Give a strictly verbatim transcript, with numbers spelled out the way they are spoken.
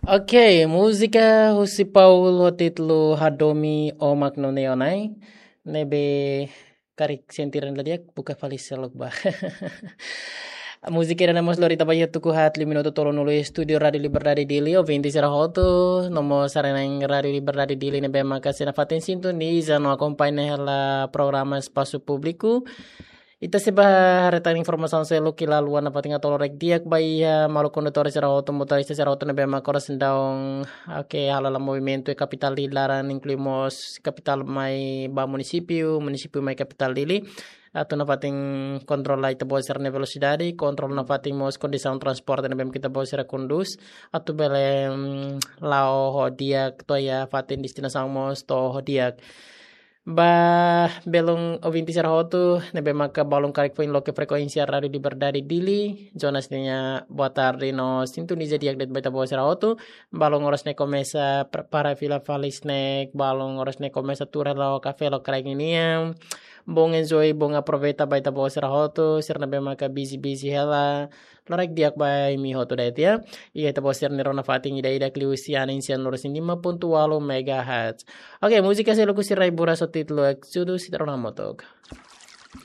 Oke, múzika husi Paul ho títulu Hadomi o Magno Neonai. Ne'ebé karik sentira la di'ak, buka fali seluk ba. Múzika ida-ne'e mós lori ita ba iha tuku haat liu minutu tolunulu iha estúdiu Rádiu Liberdade Dili, ouvinte sira hotu, no mós sarani Rádiu Liberdade Dili ne'ebé maka sei nafatin sintoniza no akompaña hela programa Espasu Públiku. Ita sei bá haree tan informasaun seluk iha luan nafatin atu lorokraik di'ak ba iha maluk kondutór sira hotu, motorista sira hotu ne'ebé maka oras ne'e daudaun, oke, hala'o movimentu iha kapitál Dili laran, inklui mós kapitál mai ba munisípiu, munisípiu mai kapitál Dili. Atu nafatin kontrola ita-boot sira-nia velosidade, kontrola nafatin mós kondisaun transporte ne'ebé mak ita-boot sira kondús, atu bele, mm, la'o ho di'ak to'o iha fatin destinasaun mós to'o ho di'ak. Ba belun ouvinte sira hotu ne'ebé maka balun karik foin loke frekuénsia Rádiu Liberdade Dili, Jonas ninia boa tarde no sintoniza di'ak de'it ba ita-boot sira hotu. Balun oras ne'e komesa prepara fila fali snack, balun oras ne'e komesa tuur hela ho kafé lokraik ninian. Bom enjoy, bom aproveita ba ita-boot sira hotu, sira ne'ebé maka busy-busy hela. Lorokraik di'ak ba imi hotu de'it ya. Iha ita-boot sira-nia rona fatin ida-idak liuhusi anin sian lorosian lima pontu ualu megahertz. Oke, múzika seluk husi Rai Buras ho títulu Exodus, ita rona hamutuk.